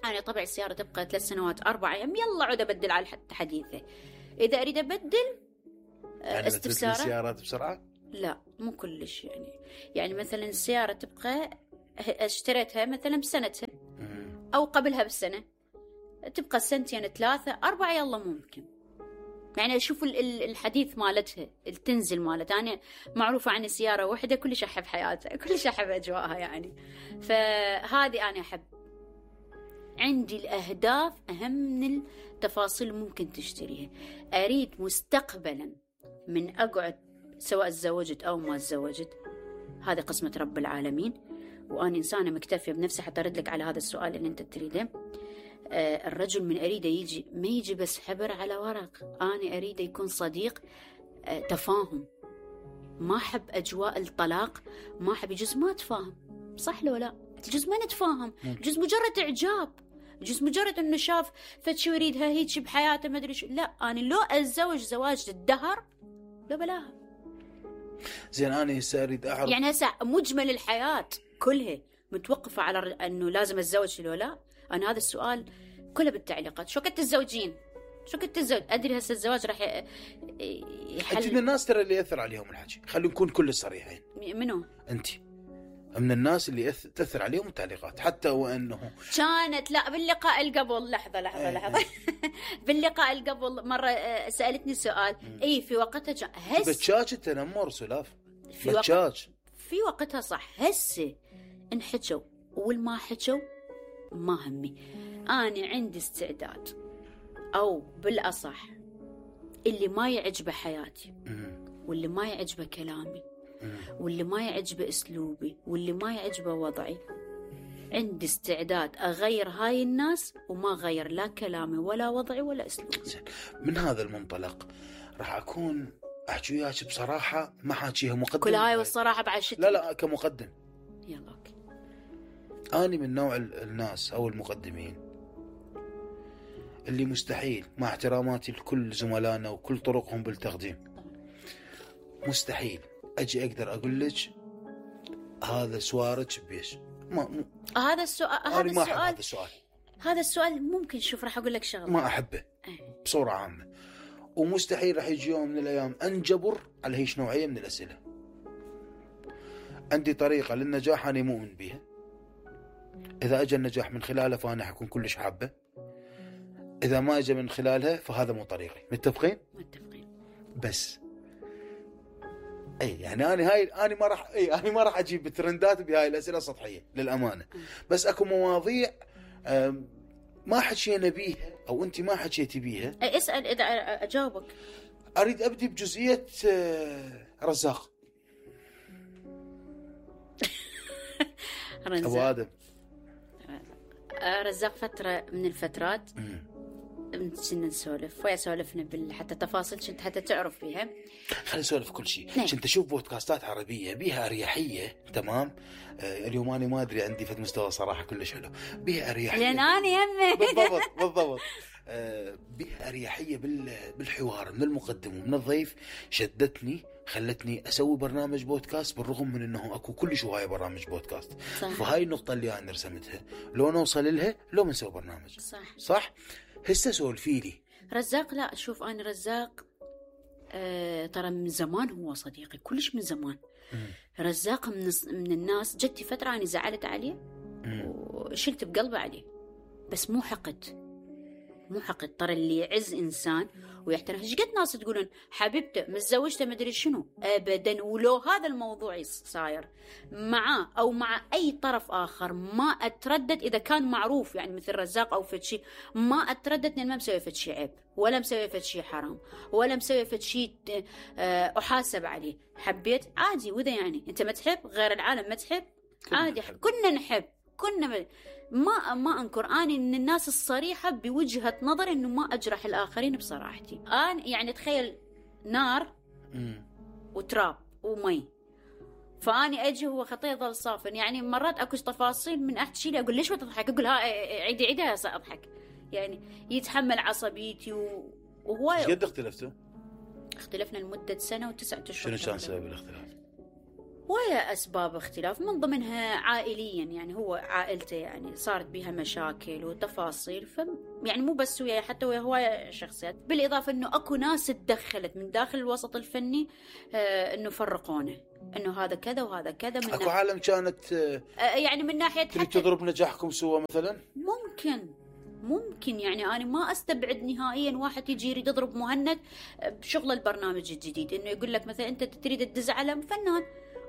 أنا طبع السيارة تبقى 3 سنوات 4 أيام، يلا عود أبدل على حديثة. إذا أريد أبدل يعني استفسارات السيارات بسرعة؟ لا مو كلش يعني مثلا السيارة تبقى اشتريتها مثلا بسنتها أو قبلها بسنة، تبقى 2 3 4 يلا ممكن. يعني أشوف الحديث مالتها، التنزل مالتها. أنا معروفة عني سيارة واحدة كلش أحب حياتها، كلش أحب أجواءها يعني. فهذه أنا أحب. عندي الأهداف أهم من التفاصيل ممكن تشتريها. أريد مستقبلا من أقعد سواء تزوجت أو ما تزوجت، هذه قسمة رب العالمين، وأنا إنسانة مكتفية بنفسي. حتى أرد لك على هذا السؤال اللي أنت تريده. الرجل من أريده يجي ما يجي بس حبر على ورق، أنا أريده يكون صديق تفاهم. ما أحب أجواء الطلاق، ما أحب. يجوز ما تفاهم، صح لو لا؟ يجوز ما نتفاهم، يجوز مجرد إعجاب، يجوز مجرد إنه شاف فتشي يريدها هيك بحياته ما أدري شو. لا، أنا لو أتزوج زواج الدهر لو بلاها. زين أنا هسه أريد أعرف يعني هسه مجمل الحياة كلها متوقفة على أنه لازم أتزوج لو لا. أنا هذا السؤال كله بالتعليقات. شو كنت تتزوجين؟ شو كنت تتزوج؟ أدري هسه الزواج راح يحل. أنت من الناس ترى اللي يأثر عليهم الحكي، خلينا نكون كل صريحين. منو؟ أنت من الناس اللي تأثر عليهم التعليقات، حتى وأنه كانت لا باللقاء القبل. لحظة باللقاء القبل مرة سألتني سؤال. إيه في وقتها بتشاش التنمر سلاف في وقتها صح. هسه إن حكوا والما حكوا ما همي. أنا عندي استعداد، أو بالأصح اللي ما يعجبه حياتي واللي ما يعجبه كلامي واللي ما يعجبه أسلوبي واللي ما يعجبه وضعي، عندي استعداد أغير هاي الناس وما أغير لا كلامي ولا وضعي ولا أسلوبي. من هذا المنطلق راح أكون أحكي وياك بصراحة، ما حاكيها مقدم. كل هاي والصراحة بعشتي. لا كمقدم. يلا أوكي. أنا من نوع الناس أو المقدمين اللي مستحيل، مع احتراماتي لكل زملائنا وكل طرقهم بالتقديم، مستحيل أجي أقدر أقول لك هذا سوارج بيش. هذا السؤال هذا السؤال ممكن. شوف راح أقول لك شغلة ما أحبه بصورة عامة، ومستحيل راح يجي يوم من الأيام أنجبر على هيش نوعية من الأسئلة. عندي طريقة للنجاح أنا مؤمن بيها، إذا أجى النجاح من خلالها فأنا حكون كلش حابة، إذا ما أجى من خلالها فهذا مو طريقي. متفقين؟ بس يعني أنا ما راح أجيب ترندات بهاي الأسئلة السطحية للأمانة. بس أكو مواضيع ما حكينا بيها أو أنت ما حكيتي بيها. اسأل إذا أجاوبك. أريد أبدي بجزئية رزاق أبو آدم. رزاق فترة من الفترات كنا نسولف ويا سولفنا حتى تفاصيل كنت حتى تعرف فيها. خلينا نسولف كل شيء. كنت أشوف بودكاستات عربية بيها أريحية. تمام. اليوم أنا ما أدري عندي في المستوى صراحة كلش حلو. بيها أريحية لأن أنا يمه بالضبط بيها أريحية بالحوار من المقدم ومن الضيف. شدتني خلتني أسوي برنامج بودكاست بالرغم من أنه أكو كلش هواية برامج بودكاست. فهاي النقطة اللي أنا رسمتها لو نوصل لها لو منسوي برنامج. صح. هسه سولفي لي رزاق. لا شوف أنا رزاق ترى من زمان هو صديقي كلش من زمان. رزاق من الناس. جتي فترة أنا زعلت عليه وشلت بقلبي عليه، بس مو حقد. ترى اللي يعز إنسان ويحترم. ايش قد ناس تقولون حبيبته متزوجته مدري شنو. أبدا. ولو هذا الموضوع صاير معاه أو مع أي طرف آخر ما أتردد إذا كان معروف، يعني مثل رزاق أو فتشي، ما أتردد إن ما مسوي فتشي عيب ولا مسوي فتشي حرام ولا مسوي فتشي أحاسب عليه. حبيت عادي. وإذا يعني أنت ما تحب غير العالم ما تحب عادي. كنا نحب كنا ما أنكر. أنا من الناس الصريحة بوجهة نظر إنه ما أجرح الآخرين بصراحتي. أنا يعني تخيل نار وتراب ومي، فأني أجي هو خطيه ظل صافن. يعني مرات أكو تفاصيل من أحكي لي أقول ليش ما تضحك، أقول ها عيدها أضحك. يعني يتحمل عصبيتي وهو. إيش قد اختلفتوا؟ اختلفنا لمدة 1 سنة و9 أشهر. شنو كان سبب الاختلاف؟ ويا أسباب اختلاف، من ضمنها عائليا، يعني هو عائلته يعني صارت بها مشاكل وتفاصيل، يعني مو بس وياي، حتى ويا هواية شخصيات، بالإضافة أنه أكو ناس تدخلت من داخل الوسط الفني أنه فرقونه، أنه هذا كذا وهذا كذا. من أكو عالم كانت يعني من ناحية تريد تضرب نجاحكم سوا مثلا؟ ممكن يعني أنا ما أستبعد نهائيا واحد يجي يريد يضرب مهند بشغل البرنامج الجديد، إنه يقول لك مثلا أنت تريد تدز على فنان،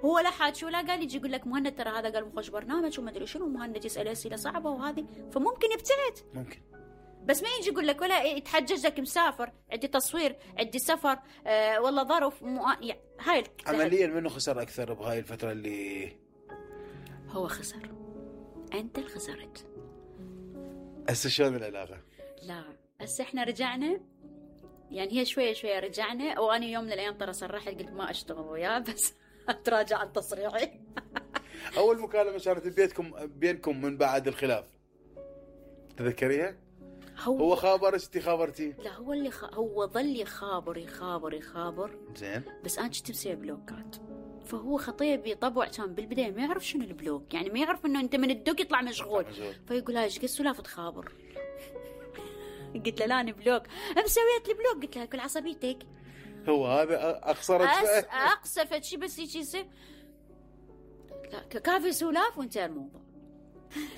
هو لا حاج ولا قال، يجي يقول لك مهند ترى هذا قال مخش برنامج وما أدري شنو، مهند يسأل أسئلة صعبة وهذه، فممكن يبتعد. ممكن، بس ما يجي يقول لك ولا يتحجج لك مسافر، عندي تصوير، عندي سفر، والله ظرف يعني هاي عمليا منه خسر أكثر بهاي الفترة اللي هو خسر؟ أنت اللي خسرت. هسه شلون العلاقة؟ لا هسه احنا رجعنا، يعني هي شوية شوية رجعنا، وأنا يوم من الأيام ترى صرحت قلت ما أشتغل وياه، بس أتراجع عن تصريحي. أول مكالمة صارت بينكم من بعد الخلاف تذكريها؟ هو خابر انتي خابرتي؟ لا هو اللي هو ظل يخابر زين، بس أنا كنت مسوي بلوكات، فهو خطيه بطبع كان بالبداية ما يعرف شنو البلوك، يعني ما يعرف إنه أنت من الدق يطلع مشغول، فيقول هاي ايش قد سلافة تخابر. قلت له لا أنا بلوك، مسويت لي بلوك، قلت له كل عصبيتك، هو هذا أقصفت شي بس يجي يصير لا كافي سلاف وانتهى الموضوع.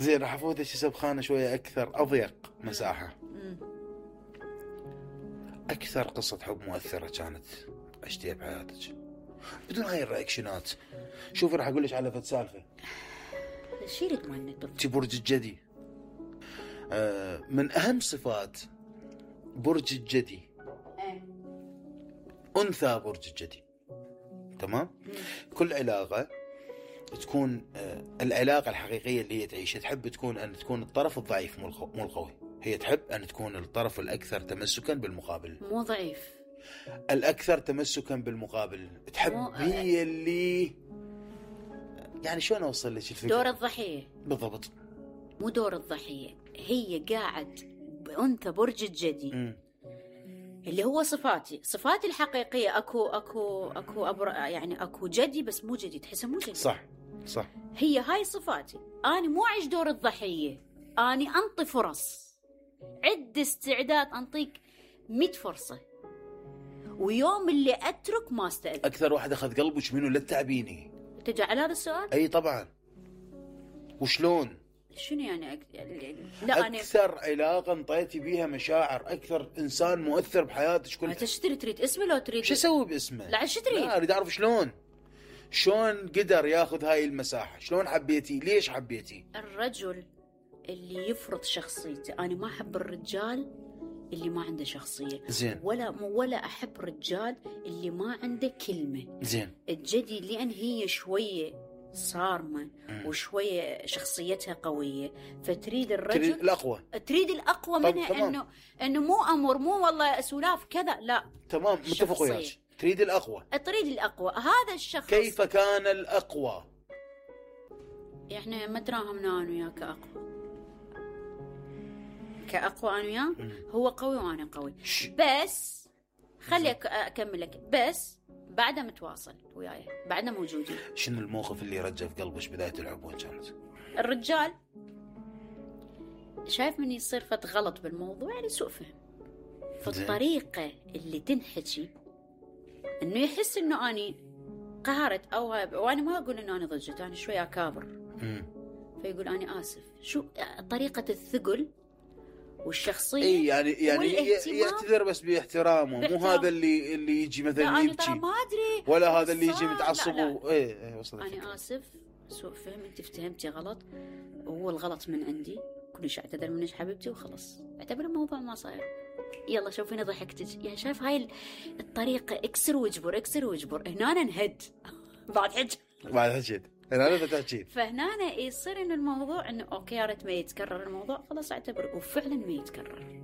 زين، راح افوت شي سبخانه شويه اكثر، اضيق مساحه. اكثر قصه حب مؤثره كانت عشتيها بحياتك بدون هاي الرياكشنات؟ شوفي راح اقول لك على فد سالفه. شيلت مهند تي برج الجدي. من اهم صفات برج الجدي انثى برج الجدي، تمام؟ كل علاقه تكون العلاقة الحقيقية اللي هي تعيشها تحب تكون أن تكون الطرف الضعيف مو القوي، هي تحب أن تكون الطرف الأكثر تمسكا بالمقابل، مو ضعيف، الأكثر تمسكا بالمقابل، تحب هي اللي يعني شلون أوصل لك الفكرة؟ دور الضحية بالضبط، مو دور الضحية، هي قاعد بأنثى برج الجدي اللي هو صفاتي الحقيقية. أكو يعني أكو جدي بس مو جدي، تحسه مو جدي. صح هي هاي صفاتي، أنا مو أعيش دور الضحية، أنا أنطي فرص، عد استعداد أنطيك 100 فرصة، ويوم اللي أترك ما استأذن. أكثر واحد أخذ قلبك منو؟ لا تتعبيني. تجي على هذا السؤال؟ أي طبعا. وشلون؟ شنو يعني لا أكثر علاقة انطيتي بيها مشاعر، أكثر إنسان مؤثر بحياتك كلها. تريد اسمه لو تريد شو أسوي باسمه؟ لا شو تريد؟ لا أريد أعرف شلون قدر ياخذ هاي المساحة، شلون حبيتي، ليش حبيتي؟ الرجل اللي يفرض شخصيته، أنا ما أحب الرجال اللي ما عنده شخصية. زين. ولا أحب الرجال اللي ما عنده كلمة. زين. الجدي لأن هي شوية صارمة وشوية شخصيتها قوية، فتريد الرجل تريد الأقوى منها، إنه مو أمر، مو والله سلاف كذا، لا تمام متفق وياك، تريد الأقوى. هذا الشخص. كيف كان الأقوى؟ إحنا ما تراهمنا أنا وياه كأقوى أنا وياه، هو قوي وأنا قوي، بس خلي أكمل لك، بس بعدها متواصل وياي، بعدنا موجودين. شنو الموقف اللي رجع في قلبك بداية العبوة كانت؟ الرجال شايف من يصير فت غلط بالموضوع، يعني سوء فهم، فالطريقة اللي تنحكي إنه يحس إنه أني قهرت أو وأنا ما أقول إنه أنا ضجت، أنا شوي أكابر، فيقول أنا آسف. شو طريقة الثقل والشخصية؟ إيه يعني يعتذر بس باحترامه، مو هذا اللي يجي مثلا يبكي، ما أدري، ولا هذا اللي يجي متعصب. إيه أنا آسف، سوء فهم، أنت فهمتي غلط، وهو الغلط من عندي، كلش أعتذر منك حبيبتي وخلص، اعتبر الموضوع ما صاير، يلا شوفيني ضحكتك. يعني شايف هاي الطريقة، اكسر واجبر، هنا أنا نهد بعد حكيت أنا بتحكي، فهنا يصير إنه الموضوع إنه أوكي يا ريت ما يتكرر الموضوع، خلاص اعتبره، وفعلا ما يتكرر.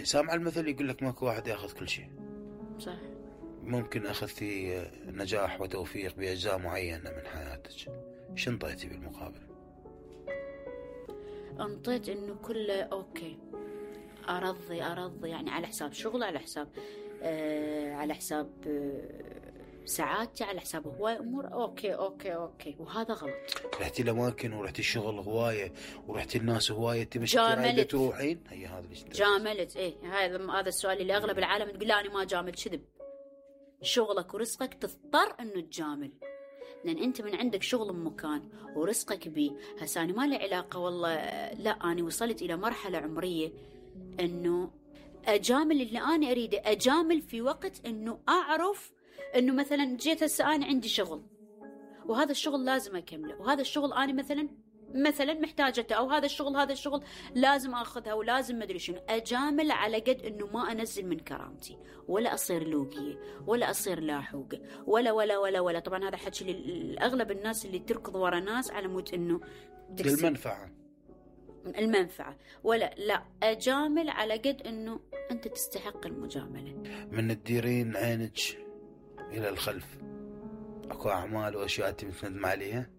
سامع المثل يقول لك ماكو واحد ياخذ كل شيء. صح. ممكن أخذتي نجاح وتوفيق بأجزاء معينة من حياتك، شو انطيتي بالمقابل؟ انطيت إنه كله أوكي، أرضي يعني على حساب شغل، على حساب ساعاتي على حساب هواي امور. اوكي وهذا غلط. رحتي الاماكن ورحتي الشغل هوايه ورحتي الناس هوايه، انت مش قاعده تروحين. هي هذا اللي جاملت. هذا السؤال اللي اغلب العالم تقول لا انا ما جامل. كذب. شغلك ورزقك تضطر انه تجامل، لان انت من عندك شغل بمكان ورزقك بيه. هسه انا ما لي علاقه والله، لا انا وصلت الى مرحله عمريه انه اجامل اللي انا اريده. اجامل في وقت انه اعرف انه مثلا جيت هسه انا عندي شغل وهذا الشغل لازم اكمله، وهذا الشغل انا مثلا محتاجته، او هذا الشغل لازم اخذها ولازم ما ادري شنو. اجامل على قد انه ما انزل من كرامتي، ولا اصير لوقيه، ولا اصير لاحوقه، ولا ولا ولا ولا. طبعا هذا حكي لاغلب الناس اللي تركض ورا ناس على مود انه المنفعه. ولا لا، اجامل على قد انه انت تستحق المجامله. من تديرين عينك الى الخلف اكو اعمال واشياء انت متندم عليها؟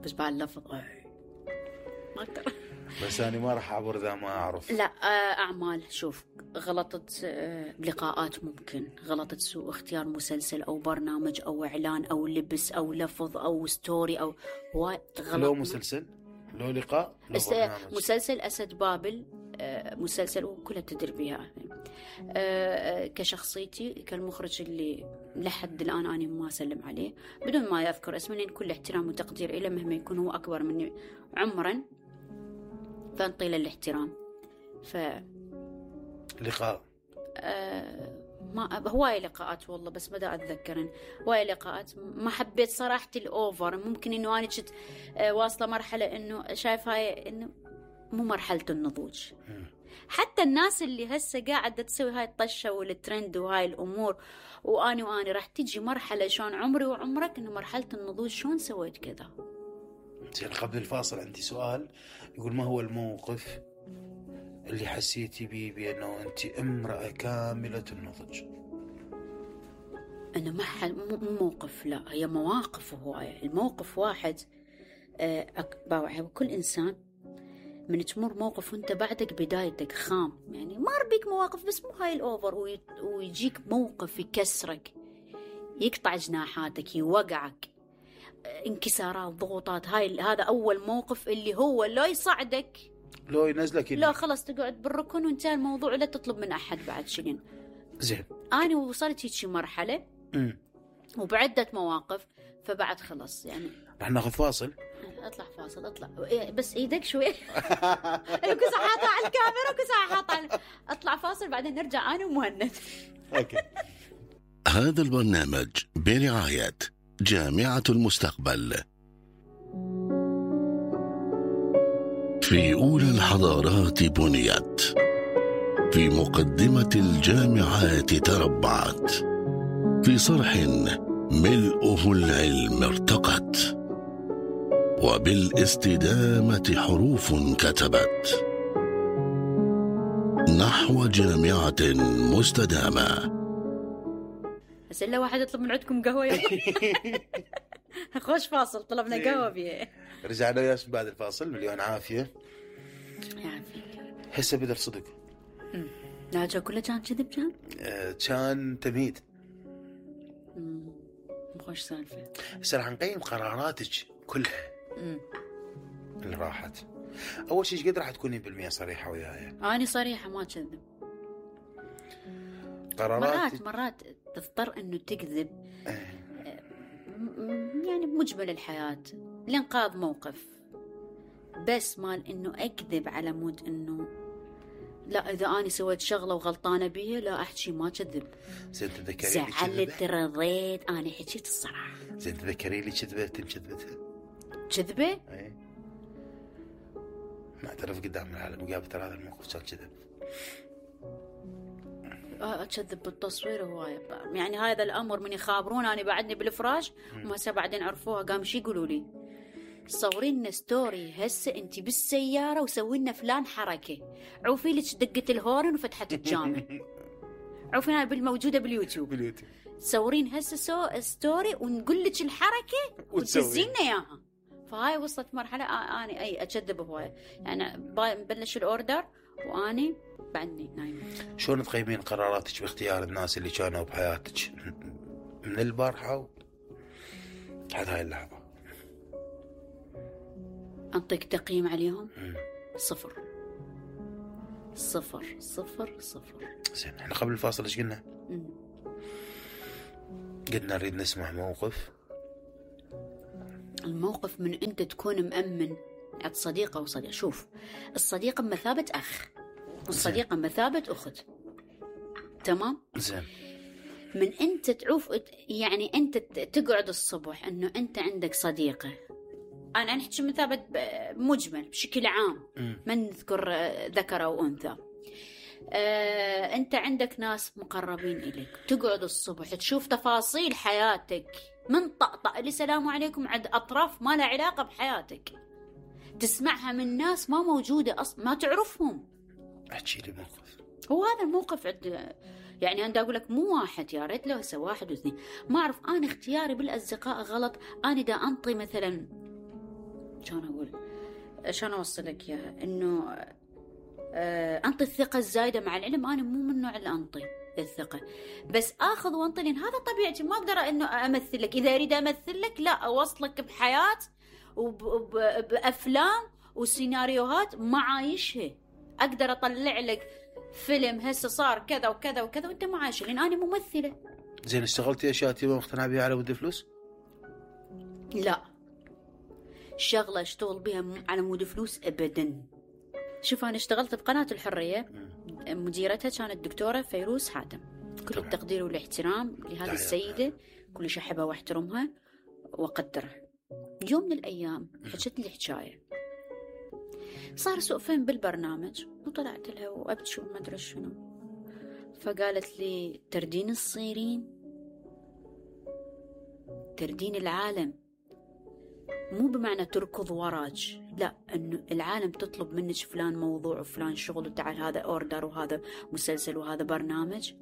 بس بعد اللفظ ما اقدر. بس انا ما راح اعبر اذا ما اعرف. لا اعمال. شوف، غلطت بلقاءات، ممكن غلطت سوء اختيار مسلسل او برنامج او اعلان او لبس او لفظ او ستوري او هواي غلط. لو مسلسل، لو لقاء، لو برنامج. مسلسل اسد بابل، مسلسل وكلها تدري بها. كشخصيتي كالمخرج اللي لحد الآن أنا ما أسلم عليه بدون ما يذكر اسمه، لأن كل احترام وتقدير إليه مهما يكون هو أكبر مني عمرا، فانطي له الاحترام. لقاء ما هواي لقاءات والله، بس بدأ أتذكرن هواي لقاءات ما حبيت صراحة الأوفر. ممكن إنه أنا كنت واصلة مرحلة إنه شايف هاي إنه مو مرحلة النضوج. حتى الناس اللي هسه قاعدة تسوي هاي الطشة والترند وهاي الأمور، وأنا راح تجي مرحلة شلون عمري وعمرك إنه مرحلة النضوج شلون سويت كذا. زين، قبل الفاصل عندي سؤال يقول ما هو الموقف اللي حسيتي بيه بأنه أنت امرأة كاملة النضج؟ أنه مو موقف، لا هي مواقف هواية. الموقف واحد باوعي، وكل إنسان من تمر موقف وانت بعدك بدايتك خام، يعني مر بيك مواقف بس مو هاي الأوفر، ويجيك موقف يكسرك، يقطع جناحاتك، يوقعك، انكسارات، ضغوطات. هذا أول موقف اللي هو لا يصعدك لو ينزلك لا خلاص تقعد بالركن وانتهى الموضوع، لا تطلب من أحد بعد شيء. زين، أنا وصلت هيك مرحلة وبعدة مواقف، فبعد خلاص يعني. رح ناخذ فاصل. اطلع فاصل، اطلع بس ايدك شوي. كنت حاطه على الكاميرا وكنت حاطه اطلع فاصل بعدين نرجع انا ومهند. اوكي. هذا البرنامج برعاية جامعة المستقبل. في أولى الحضارات بنيت، في مقدمة الجامعات تربعت، في صرح ملؤه العلم ارتقت، وبالاستدامة حروف كتبت نحو جامعة مستدامة. بس إلا واحد يطلب من عندكم قهوة. خوش فاصل، طلبنا قهوة بيه. رجعنا وياك بعد الفاصل. مليون عافية. يعافيك. هسه بدر صدق. لا جو كله كان كذب كان؟ كان تمهيد. خوش سالفة. هسه راح نقيم قراراتك كلها اللي راحت. أول شيء ايش قد راح تكونين بالمية صريحة وياي؟ أنا صريحة ما كذب. قرارات مرات تضطر إنه تكذب يعني بمجمل الحياة لإنقاذ موقف، بس مال إنه أكذب على مود إنه لا إذا أنا سويت شغلة وغلطانة بيها لا أحكي ما كذب. زين تذكري زعلت رضيت أنا حكيت الصراحة. زين تذكري لي كذبتها كذبة؟ اي نعترف قدام العالم قابلت هذا الموقف كان كذب. أكذب بالتصوير هواية يعني. هذا الأمر من يخابرون أنا بعدني بالفراش وما هسه بعدين عرفوها قام شي يقولوا لي صورين لنا ستوري هسه انت بالسيارة وسوي لنا فلان حركة، عوفي لك دقة الهورن وفتحت الجامع. عوفي هاي بالموجودة باليوتيوب. صورين هسه ستوري ونقول لك الحركة وتسزينا اياها. فهاي وصلت مرحلة أنا أي أكذب هواية يعني. بلش الأوردر وأنا بعدني نايمة. شلون تقيمين قراراتك باختيار الناس اللي كانوا بحياتك من البارحة لحد هاي اللحظة؟ أنطيك تقييم عليهم 0. زين، احنا قبل الفاصل ايش قلنا؟ قلنا نريد نسمع موقف. الموقف من أنت تكون مأمن عند صديقة وصديق. شوف، الصديقة بمثابة أخ والصديقة بمثابة أخت، تمام؟ زين. من أنت تعوف، يعني أنت تقعد الصبح أنه أنت عندك صديقة، أنا نحكي مثابة مجمل بشكل عام، ما نذكر ذكر أو أنثى. أنت عندك ناس مقربين إليك، تقعد الصبح تشوف تفاصيل حياتك من طقطق لسلام عليكم عند أطراف ما لها علاقة بحياتك، تسمعها من ناس ما موجودة أصلا، ما تعرفهم. احكي لي موقف. هو هذا الموقف يعني أنا أقول لك مو واحد، يا ريت لو هسه 1 و2. ما أعرف، أنا اختياري بالأصدقاء غلط. أنا دا أنطي مثلا، شلون أوصل لك إياها، إنه أنطي الثقة الزايدة، مع العلم أنا مو من النوع اللي أنطي الثقة، بس آخذ وأنطي، لأن هذا طبيعتي. ما أقدر إنه أمثل لك. إذا أريد أمثل لك، لا، أوصلك بحياة وبأفلام وسيناريوهات ما عايشها. أقدر أطلع لك فيلم هسه صار كذا وكذا وكذا وأنت ما عايشه، لأن أنا ممثلة. زين، اشتغلتي أشياء تبغى مقتنع بها على ود فلوس؟ لا، شغلة اشتغل بها على مود فلوس أبدا. شوف، أنا اشتغلت بقناة الحرية، مديرتها كانت الدكتورة فيروز حاتم. كل التقدير والاحترام لهذه السيدة، كلش أحبها واحترمها وأقدرها. يوم من الأيام حكت لي حكاية، صار سوء فهم بالبرنامج، وطلعت لها وأبكي وما أدري شنو. فقالت لي تردين الصيرين، تردين العالم، مو بمعنى تركض وراج، لا، انه العالم تطلب منك فلان موضوع وفلان شغل، وتعال هذا اوردر وهذا مسلسل وهذا برنامج.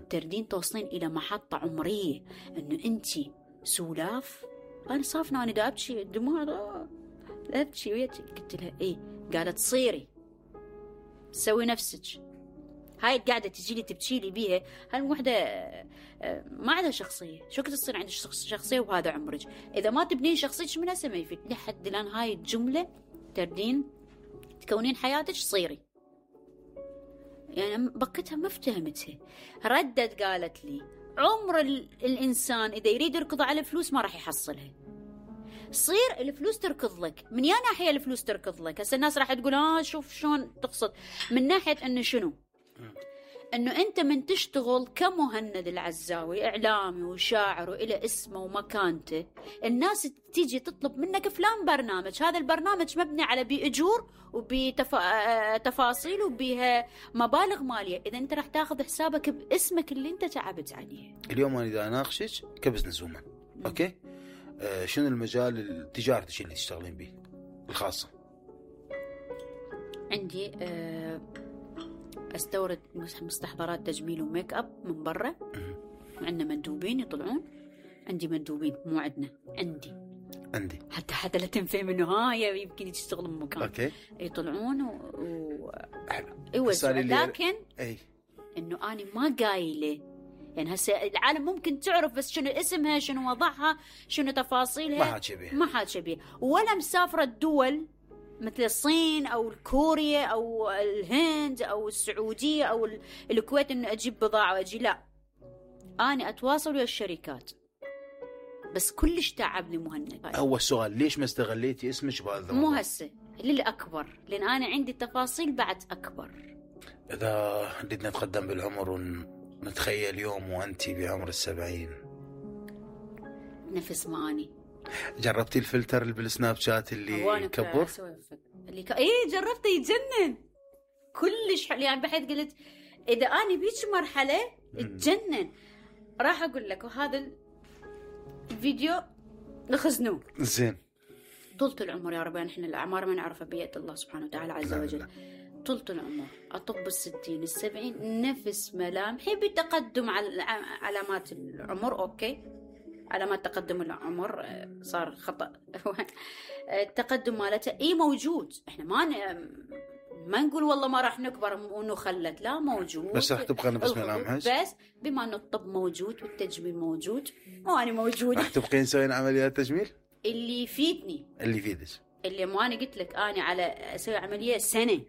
تردين توصلين الى محطة عمرية انه انتي سولاف. انا صافنة، انا دا ابكي، دموع ابكي وياك. قلت لها ايه؟ قالت صيري، سوي نفسك. هاي قاعدة تجي لي تبكي لي بيها، هالوحدة ما عندها شخصية. شو كنت تصير عندك شخصية وهذا عمرك؟ إذا ما تبنين شخصيتك من هسه ما يفيد. لحد الآن هاي الجملة تردين تكونين حياتك صيري، يعني بقتها ما افتهمتها. ردت قالت لي عمر الإنسان إذا يريد يركض على فلوس ما راح يحصلها. صير الفلوس تركض لك. من يا ناحية الفلوس تركض لك؟ هسه الناس راح تقول شوف شلون تقصد. من ناحية أنه شنو؟ أنه أنت من تشتغل كمهند العزاوي إعلامي وشاعر وإلى اسمه ومكانته، الناس تيجي تطلب منك فلان برنامج، هذا البرنامج مبني على بأجور وبتفاصيل وبها مبالغ مالية. إذا أنت راح تاخذ حسابك باسمك اللي أنت تعبت عليه. اليوم أنا إذا أناقشك كبزنس وومن، أوكي، شنو المجال التجارتي اللي تشتغلين به الخاصة؟ عندي استورد مستحضرات تجميل وميك اب من برا، وعندنا مندوبين يطلعون. عندي مندوبين، مو عندنا، عندي حتى لا تنفهم انه هاي يمكن تشتغل بمكان. اوكي، يطلعون يوزعوا. لكن انه انا ما قايله، يعني هسه العالم ممكن تعرف بس شنو اسمها، شنو وضعها، شنو تفاصيلها، ما حاجه بيه. ولا مسافره الدول مثل الصين أو كوريا أو الهند أو السعودية أو الكويت إنه أجيب بضاعة وأجي، لا، أنا أتواصل ويا الشركات. بس كلش تعبني مهند. هو السؤال، ليش ما استغليتي اسمك بهذا؟ مو هسه، للأكبر، لأن أنا عندي تفاصيل بعد أكبر. إذا بدنا نتقدم بالعمر ونتخيل يوم وأنتي بعمر 70، نفس ما أني. جربتي الفلتر اللي بالسناب شات اللي يكبر؟ ايه جربته، يجنن كلش حلو. يعني بحيث قلت اذا اني بيك مرحله تجنن. راح اقول لك، وهذا الفيديو نخزنوه. زين، طولة العمر يا رب، نحن الاعمار ما نعرفها بيد الله سبحانه وتعالى عز وجل. طولة العمر اطب 60 70 نفس ملامحي بتقدم على علامات العمر. اوكي، علامات تقدم العمر صار خطأ. التقدم مالته موجود. احنا ما نقول والله ما راح نكبر وانه خلت، لا موجود، بس راح تبقى نفس ملامحك. بس بما انه الطب موجود والتجميل موجود وانا موجود، راح تبقين تسوين عمليات تجميل اللي يفيدني، اللي يفيدك. اللي ما انا قلت لك انا على اسوي عمليه سنه،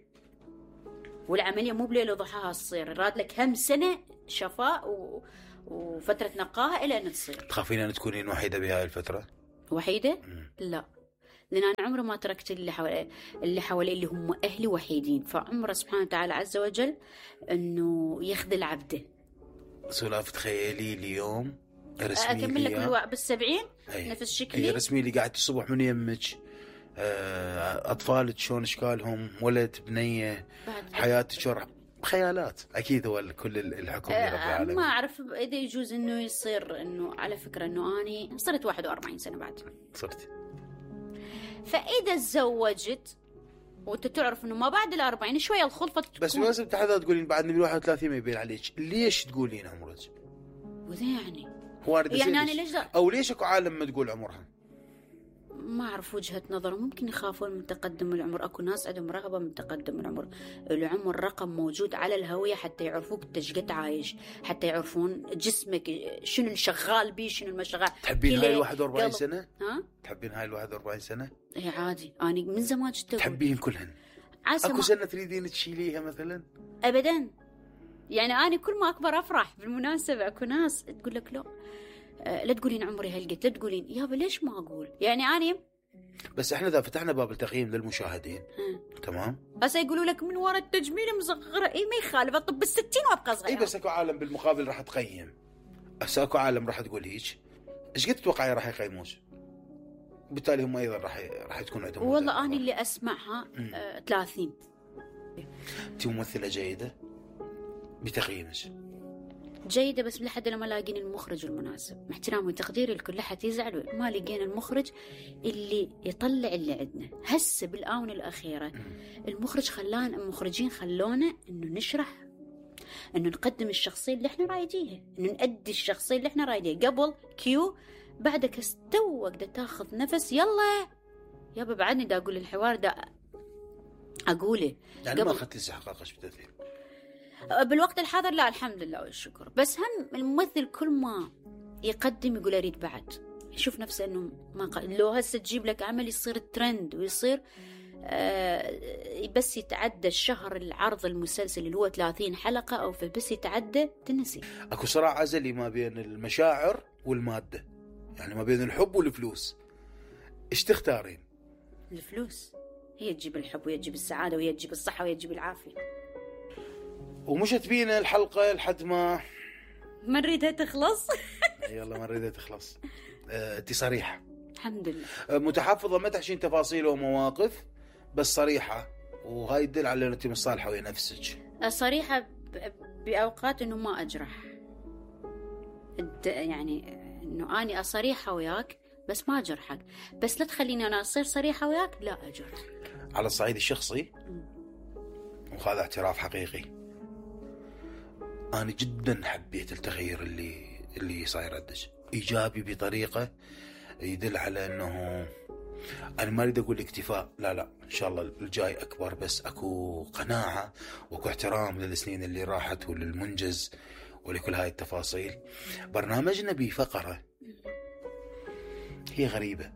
والعمليه مو بليله وضحاها تصير، راد لك هم سنه شفاء وفتره نقاهه الى ان تصير. تخافين ان تكونين وحيده بهاي الفتره؟ وحيده؟ لا، لان انا عمري ما تركت اللي حوالي اللي هم اهلي وحيدين، فعمره سبحانه وتعالى عز وجل انه يخذل عبده. سلاف تخيلي اليوم رسمي اكمل لك بالسبعين نفس شكلي، رسمي لي قاعد الصبح من يمك، اطفالك شلون اشكالهم، ولد بنيه، حياتك شلون، خيالات اكيد. هو كل الحكم لرب العالمين. ما اعرف اذا يجوز انه يصير، انه على فكره انه اني صرت 41 سنه بعد صرت، فاذا تزوجت وانت تعرف انه ما بعد ال40 شويه الخلطه تكون. بس لازم تحدد تقولين بعد من 31 ما يبين عليك، ليش تقولين عمرك؟ وذا يعني يعني انا ليش او ليش اكو عالم ما تقول عمرها؟ ما أعرف وجهة نظر، ممكن يخافون من تقدم العمر. أكو ناس عندهم رغبة من تقدم العمر. العمر رقم موجود على الهوية حتى يعرفوك أنت شقد عايش، حتى يعرفون جسمك شنو الشغال بيه شنو المشغال. تحبين هاي 41 سنة؟ ها؟ تحبين هاي 41 سنة؟ إيه عادي، أنا من زمان تحبين كلهن؟ أكو سنة تريدين تشيليها مثلا؟ أبدا، يعني أنا كل ما أكبر أفرح. بالمناسبة أكو ناس تقول لك لا تقولين عمري هالقد، لا تقولين يابا ليش ما أقول، يعني أنا بس احنا اذا فتحنا باب التقييم للمشاهدين تمام، هسه يقولوا لك من وراء التجميل مصغره، اي ما يخالف اطب ال60 وابقى صغيره. اي بس اكو عالم بالمقابل راح تقيم، هسه اكو عالم راح تقول هيك، ايش قد تتوقعي راح يقيموك؟ وبالتالي هم ايضا راح تكون عندهم. والله انا اللي اسمعها 30. انت ممثله جيده بتقييمك جيدة، بس لحد لما لاقين المخرج المناسب. مع احترامي وتقديري لكل حد يزعل، ما لقينا المخرج اللي يطلع اللي عندنا. هسه بالآونة الأخيرة المخرجين خلونا إنه نشرح، إنه نقدم الشخصية اللي إحنا رايديها، إنه نأدي الشخصية اللي إحنا رايديها. قبل كيو بعدك استوى قد تاخذ نفس، يلا يابا بعدني دا أقول الحوار دا أقوله يعني ما أخذت استحقاقك بالتمثيل بالوقت الحاضر. لا الحمد لله والشكر. بس هم الممثل كل ما يقدم يقول أريد بعد، يشوف نفسه إنه ما لو هسه تجيب لك عمل يصير ترند ويصير بس يتعدى الشهر العرض المسلسل اللي هو 30 حلقة أو بس يتعدى تنسي. أكو صراع أزلي ما بين المشاعر والمادة، يعني ما بين الحب والفلوس، إيش تختارين؟ الفلوس هي تجيب الحب وهي تجيب السعادة وهي تجيب الصحة وهي تجيب العافية. ومشت بينا الحلقة لحد ما نريدها تخلص. يلا ما نريدها تخلص. انتي صريحة الحمد لله، متحفظة، ما تحشين تفاصيل ومواقف، بس صريحة، وهاي يدل على انك مصالحة ويا نفسك. صريحة بأوقات انه ما أجرح، يعني انه اني أصريحة وياك بس ما أجرحك، بس لا تخليني انا أصير صريحة وياك لا أجرحك. على الصعيد الشخصي وهذا اعتراف حقيقي، أنا جدا حبيت التغيير اللي صاير عندك، إيجابي بطريقة يدل على أنه أنا ما أريد أقول اكتفاء، لا إن شاء الله الجاي أكبر، بس أكو قناعة وأكو احترام للسنين اللي راحت وللمنجز ولكل هاي التفاصيل. برنامجنا بفقرة هي غريبة،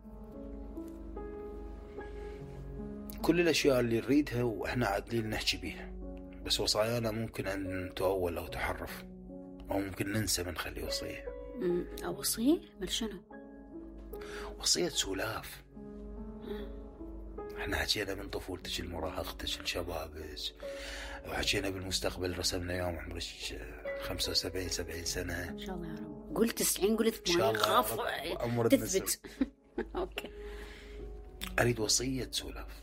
كل الأشياء اللي نريدها وإحنا عادلين نحكي بيها، بس وصايانا ممكن أن تؤول أو تحرف، أو ممكن ننسى من خلي وصية. وصية؟ مال شنو؟ وصية سلاف. احنا حكينا من طفولتك لمراهقتك لشبابك، وحكينا بالمستقبل، رسمنا يوم عمرك 75-70 سنة إن شاء الله يا رب. قلت 90 قلت 80 خاف تثبت. أوكي. أريد وصية سلاف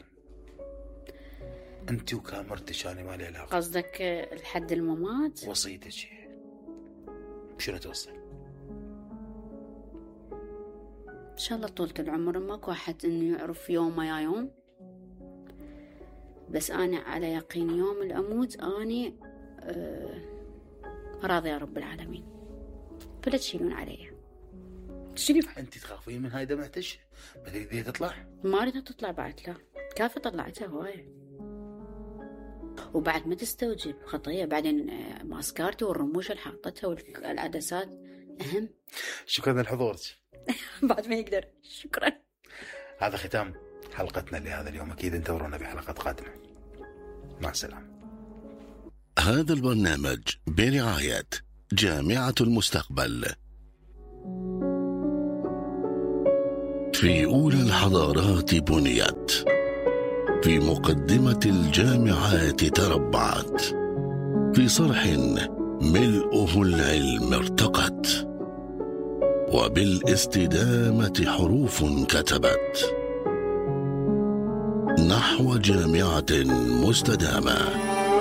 أنت وكاميرتك، أنا ما لي علاقة. قصدك لحد الممات؟ وصيتك شنو توصي؟ إن شاء الله طولة العمر، ماكو أحد إنه يعرف يوم يا يوم، بس أنا على يقين يوم الأموت أنا راضي يا رب العالمين، فلا تشيلون علي. أنت تخافين من هاي دمعتش؟ ما تريدين تطلع؟ ما أريدها تطلع بعد، لا كافة طلعتها هواية. وبعد ما تستوجب خطية. بعدين ماسكارتي والرموش اللي حاطتها والعدسات أهم. شكرا لحضورك. بعد ما يقدر. شكرا. هذا ختام حلقتنا لهذا اليوم. أكيد انتظرونا بحلقات قادمة. مع السلامة. هذا البرنامج برعاية جامعة المستقبل. في أولى الحضارات بنيت، في مقدمة الجامعات تربعت، في صرح ملؤه العلم ارتقت، وبالاستدامة حروف كتبت نحو جامعة مستدامة.